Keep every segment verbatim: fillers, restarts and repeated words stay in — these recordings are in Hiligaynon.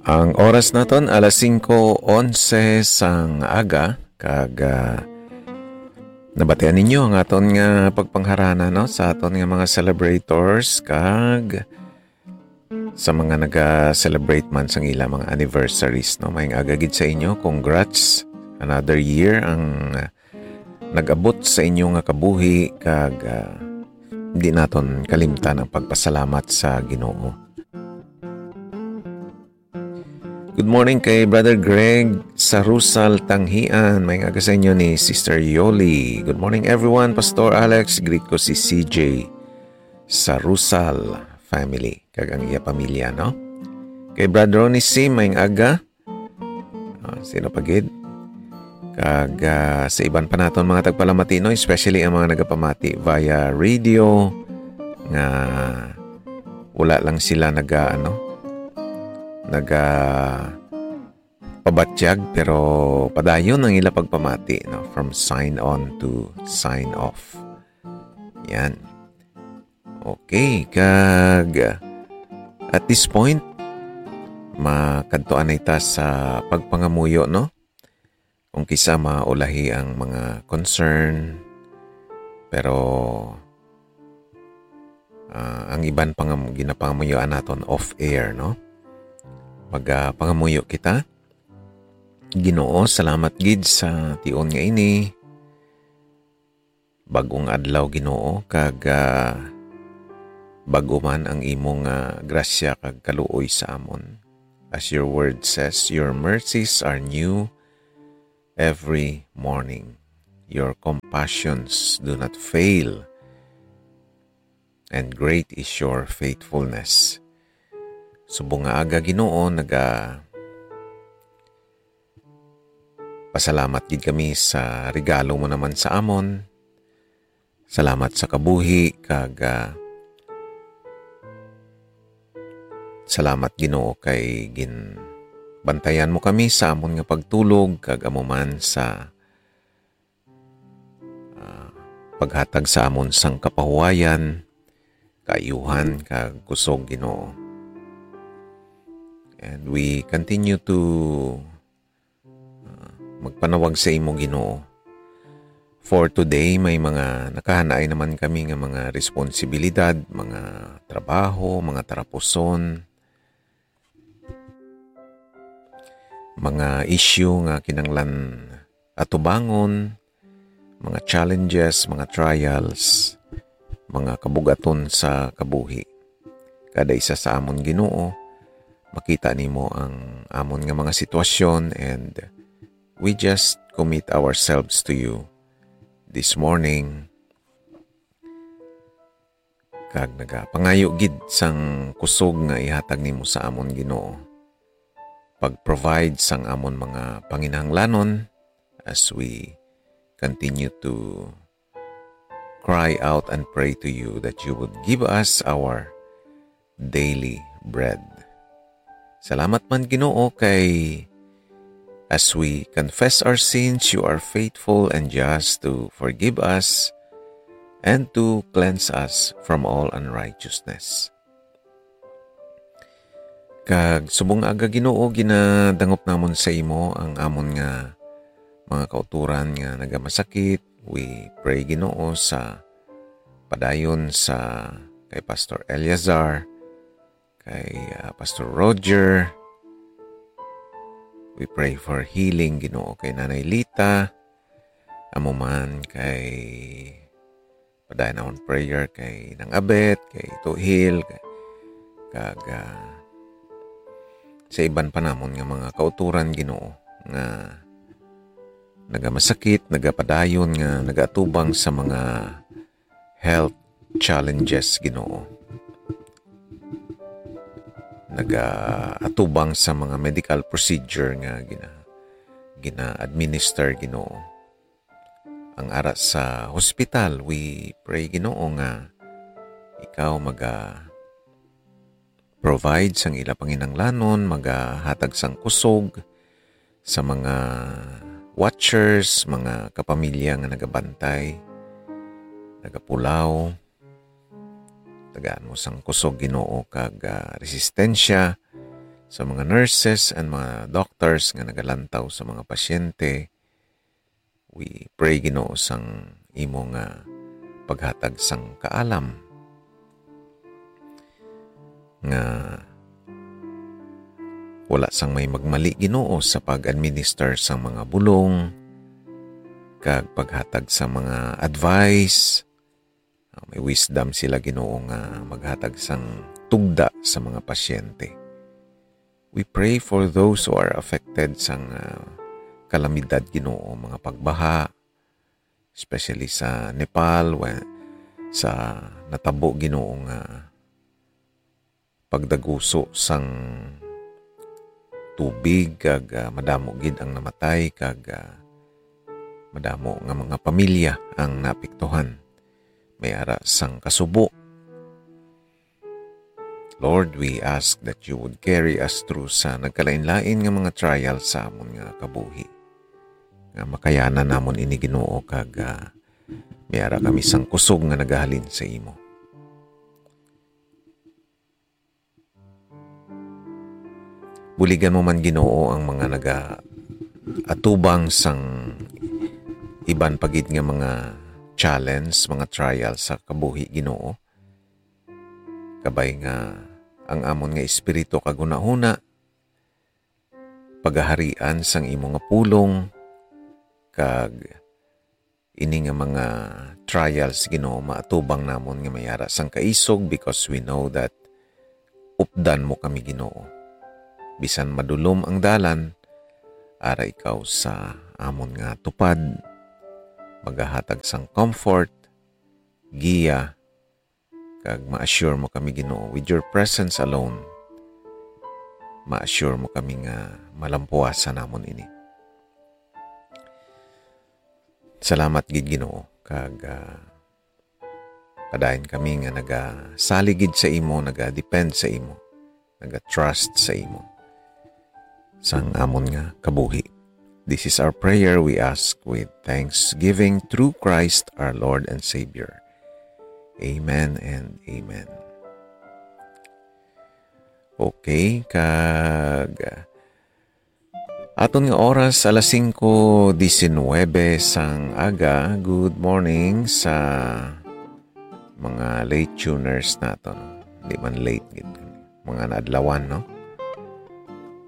Ang oras naton alas singko onse sang aga, kag, ah, nabatian ninyo ang aton nga pagpangharana, no, sa aton nga mga celebrators kag sa mga naga-celebrate man sang ila mga anniversaries, no. Maayong aga gid sa inyo. Congrats. Another year ang nag-abot sa inyo nga kabuhi, kag, ah, di naton kalimtan ang pagpasalamat sa Ginoo. Good morning kay Brother Greg sa Rusal, Tanghian. Maayong aga sa inyo ni Sister Yoli. Good morning, everyone. Pastor Alex, greet ko si C J sa Rusal family, kag ang iya pamilya, no? Kay Brad Ronnie C, maayong aga. Ah, sino pa gid? Kag, ah, sa iban pa naton mga tagpalamati, no? Especially ang mga nagapamati via radio, nga wala lang sila naga, ano, naga pabatyag, pero padayon ang ila pagpamati, no? From sign on to sign off. Yan. Okay, kag at this point, makadtuan na ita sa pagpangamuyo, no? Kung kisa maulahi ang mga concern, pero, ah, ang iban pangam-, ginapangamuyoan naton off-air, no? Mag, ah, pangamuyo kita. Ginoo, salamat gid sa tion nga ini. Bag-ong adlaw, Ginoo, kag, ah, bag-o man ang imo nga grasya kag kaluoy sa amon. As your word says, your mercies are new every morning. Your compassions do not fail, and great is your faithfulness. Subong nga aga, Ginoo, naga pasalamat gid kami sa regalo mo naman sa amon. Salamat sa kabuhi, kag, ah, salamat, Ginoo, kay ginbantayan mo kami sa amon nga pagtulog, kag amo man sa, ah, paghatag sa amon sang kapahuwayan, kaayuhan, kag kusog, Ginoo. And we continue to, ah, magpanawag sa imo, Ginoo. For today, may mga nakahanaay naman kami nga mga responsibilidad, mga trabaho, mga tarapuson, mga issue nga kinahanglan atubangon, mga challenges, mga trials, mga kabugaton sa kabuhi. Kada isa sa amon, Ginoo, makita nimo ang amon nga mga sitwasyon, and we just commit ourselves to you this morning. Kag nagapangayo gid sang kusog nga ihatag nimo sa amon, Ginoo. Pag-provide sang amon mga panginahanglanon as we continue to cry out and pray to you that you would give us our daily bread. Salamat man, Ginoo, kay as we confess our sins, you are faithful and just to forgive us and to cleanse us from all unrighteousness. Kag subong aga, Ginoo, ginadangop namon sa imo ang amon nga mga kauturan nga nagamasakit. We pray, Ginoo, sa padayon sa kay Pastor Eleazar, kay, ah, Pastor Roger. We pray for healing, Ginoo, kay Nanay Lita. Amo man kay padayon namon prayer kay Nang Abet, kay Tuhil, kay, kag, ah, sa iban pa namon nga mga kauturan, Ginoo, nga nagamasakit, nagapadayon, nga nagaatubang sa mga health challenges, Ginoo. Nagaatubang sa mga medical procedure nga gina-, gina-administer, Ginoo. Ang ara sa hospital, we pray, Ginoo, nga ikaw maga-provide sang ila panginahanglanon, magahatag sang kusog sa mga watchers, mga kapamilya nga nagabantay, nagapulaw. Tagaan mo sang kusog, Ginoo, kag, ah, resistensya sa mga nurses and mga doctors nga nagalantaw sa mga pasyente. We pray, Ginoo, sang imo nga paghatag sang kaalam nga wala sang may magmali, Ginoo, sa pag-administer sang mga bulong kag paghatag sa mga advice. Ah, may wisdom sila, Ginoo, nga maghatag sang tugda sa mga pasyente. We pray for those who are affected sang, ah, kalamidad, Ginoo, mga pagbaha, especially sa Nepal, wa-, sa natabo, Ginoo, nga pagdaguso sang tubig, kag, ah, madamo gid ang namatay, kag, ah, madamo nga mga pamilya ang naapektuhan. May ara sang kasubo. Lord, we ask that you would carry us through sa nagkalain-lain nga mga trial sa amon nga kabuhi, nga makayanan namon ini, Ginoo, kag, ah, may ara kami sang kusog nga nagahalin sa imo. Buligan mo man, Ginoo, ang mga nagaatubang sang iban pa gid nga mga challenge, mga trial sa kabuhi, Ginoo. Kabay nga ang amon nga espiritu kag hunahuna pagaharian sang imo nga pulong, kag ini nga mga trials, Ginoo, maatubang namon nga may ara sang kaisog, because we know that updan mo kami, Ginoo. Bisan madulom ang dalan, ara ikaw sa amon nga tupad, magahatag sang comfort, giya, kag ma-assure mo kami, Ginoo. With your presence alone, ma-assure mo kami nga malampuasan namon ini. Salamat gid, Ginoo, kag, ah, padayon kami nga nagasalig gid sa imo, naga-depend sa imo, naga-trust sa imo sang amon nga kabuhi. This is our prayer we ask with thanksgiving through Christ our Lord and Savior. Amen and amen. Okay, kag aton nga oras, alas singko disinwebe sang aga. Good morning sa mga late tuners naton. Di man late gid, mga naadlawan, no?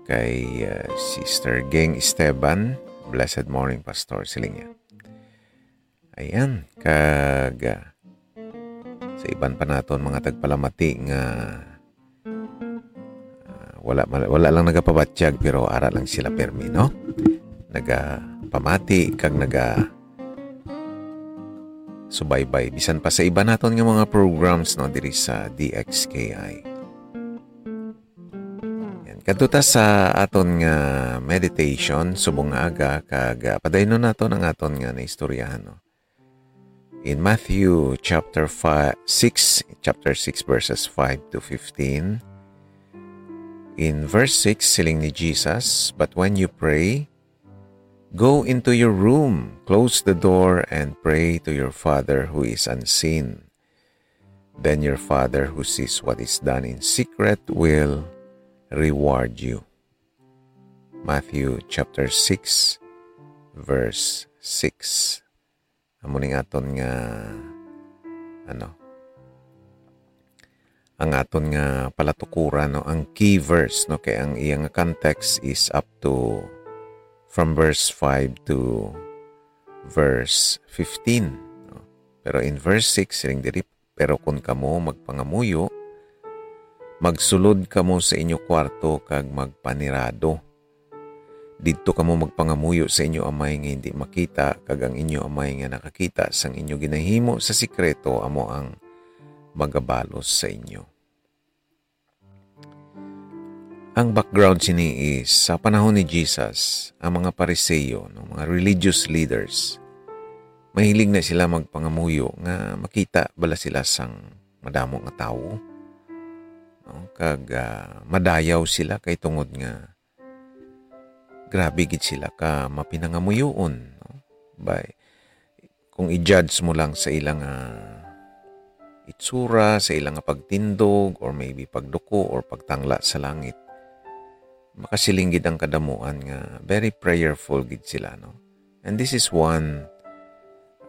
Kay, uh, Sister Geng Esteban, "Blessed morning, Pastor," siling niya. Ayan, kag, uh, sa iban pa naton mga tagpalamati nga, uh, wala, wala lang nagapabatyag, pero ara lang sila permi, no? Nagapamati kag naga subaybay bisan pa sa iban naton nga mga programs, no, diri sa D X K I. Yan. Kadto ta sa aton nga meditation subong nga aga, kag, ah, padaynon naton ang aton nga naistoryahan, no? In Matthew chapter five, six, chapter six, verses five to fifteen, in verse six, siling ni Jesus, "But when you pray, go into your room, close the door, and pray to your Father who is unseen. Then your Father who sees what is done in secret will reward you." Matthew chapter six, verse six. Amo ning aton nga, ano, ang aton nga palatukuran, no, ang key verse, no, kay ang iya nga context is up to, from verse five to verse fifteen, no? Pero in verse six, siling diri, "Pero kon kamo magpangamuyo, magsulod kamo sa inyo kwarto kag magpanirado. Didto kamo magpangamuyo sa inyo Amay nga hindi makita, kag ang inyo Amay nga nakakita sang inyo ginahimo sa sikreto amo ang magabalos sa inyo." Ang background sini is, sa panahon ni Jesus, ang mga Pariseo, no, mga religious leaders, mahilig na sila magpangamuyo nga makita bala sila sang madamo nga tawo, no? Kag, ah, madayaw sila kay tungod nga grabe gid sila ka mapinangamuyoon, no? Bay, kung i-judge mo lang sa ilang, ah, itsura, sa ilang, ah, pagtindog, or maybe pagduko, or pagtangla sa langit, makasiling gid ang kadamuan nga very prayerful gid sila, no? And this is one,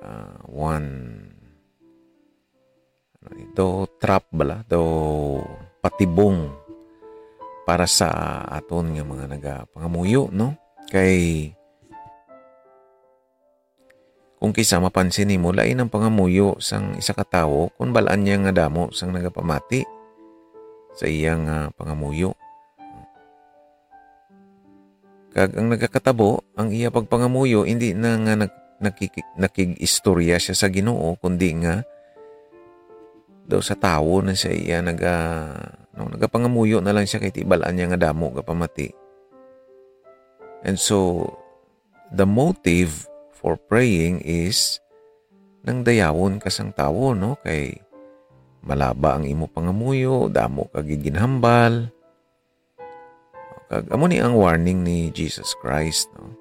ah, one, ano ni, daw trap bala, daw patibong para sa aton nga mga nagapangamuyo, no? Kay kung kisa mapansin nimo, lain ang pangamuyo sang isa ka tawo kung bal-an niya nga damo sang nagapamati sa iya nga pangamuyo. Kag ang nagakatabo, ang iya pagpangamuyo, hindi na nga nag-, nakiki-, nakig-istorya siya sa Ginoo, kundi nga daw sa tawo na siya iya naga-, no, nagapangamuyo na lang siya kay tibal-an niya nga damo gapamati. And so, the motive for praying is nang dayawon ka sang tawo, no? Kay malaba ang imo pangamuyo, damo ka gid ginhambal. Kag amo ni ang warning ni Jesus Christ, no?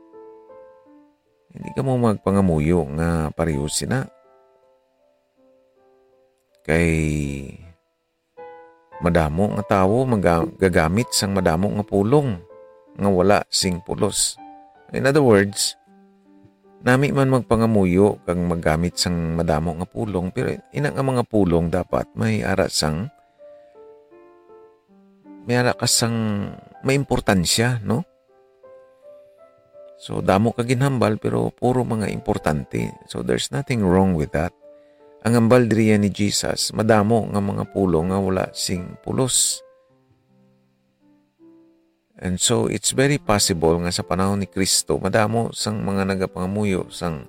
Hindi kamo magpangamuyo nga pareho sina. Kay madamo nga tawo maga-, gagamit sang madamo nga pulong nga wala sing pulos. In other words, nami man magpangamuyo kag maggamit sang madamo nga pulong, pero ina nga mga pulong dapat may ara sang, may ara ka sang, may importansya, no? So, damo ka ginhambal, pero puro mga importante. So, there's nothing wrong with that. Ang hambal diriya ni Jesus, madamo nga mga pulong nga wala sing pulos. And so, it's very possible nga sa panahon ni Cristo, madamo sang mga nagapangamuyo, sang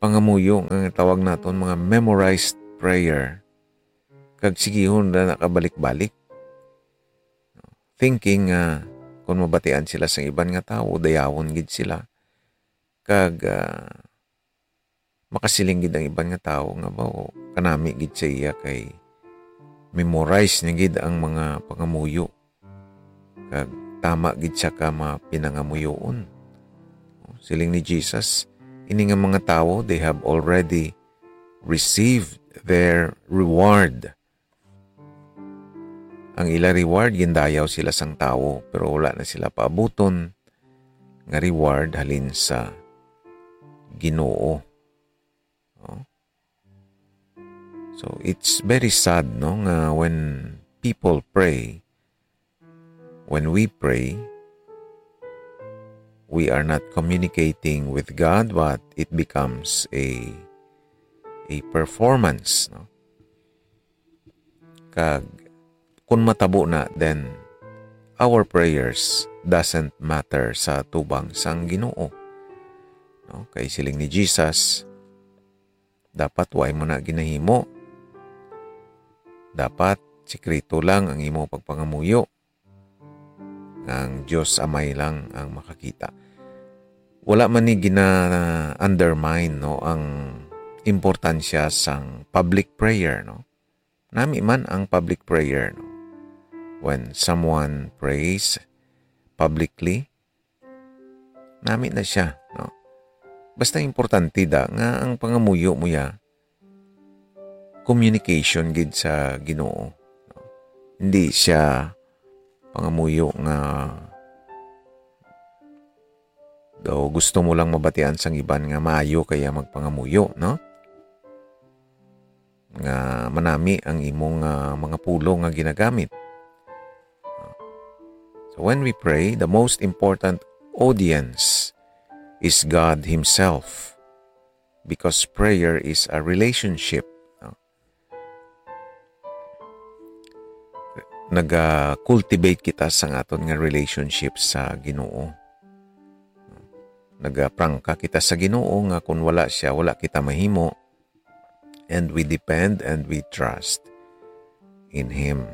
pangamuyo nga tawag naton mga memorized prayer. Kag sigihon na nakabalik-balik. Thinking nga kung mabatian sila sang iban nga tawo, dayawon gid sila. Kag, ah, makasiling gid ang iban nga tawo nga, "Baw, kanami gid sa iya kay memorize niya gid ang mga pangamuyo. Kag tama gid siya ka mapinangamuyoon." Siling ni Jesus, "Ini nga mga tawo, they have already received their reward." Ang ila reward, gindayaw sila sang tawo, pero wala na sila paabuton nga reward halin sa Ginoo. No? So, it's very sad, no, nga when people pray, when we pray, we are not communicating with God, but it becomes a, a performance, no? Kag kun matabo na, then our prayers doesn't matter sa tubang sang Ginoo. No? Kay siling ni Jesus, dapat way mo na ginahimo. Dapat sikreto lang ang imo pagpangamuyo. Nga ang Dios Amay lang ang makakita. Wala man ni gina-undermine, no, ang importansya sang public prayer, no? Nami man ang public prayer, no? When someone prays publicly, nami na siya, no? Basta importante da nga ang pangamuyo mo ya, communication gid sa Ginoo, no? Hindi siya pangamuyo nga daw gusto mo lang mabatian sang iban nga maayo kaya magpangamuyo, no? Nga manami ang imong, ah, mga pulong nga ginagamit. So when we pray, the most important audience is God Himself, because prayer is a relationship, no? Naga-cultivate kita sang aton nga relationship sa Ginoo. Nagaprangka kita sa Ginoo nga kung wala siya, wala kita mahimo. And we depend and we trust in Him.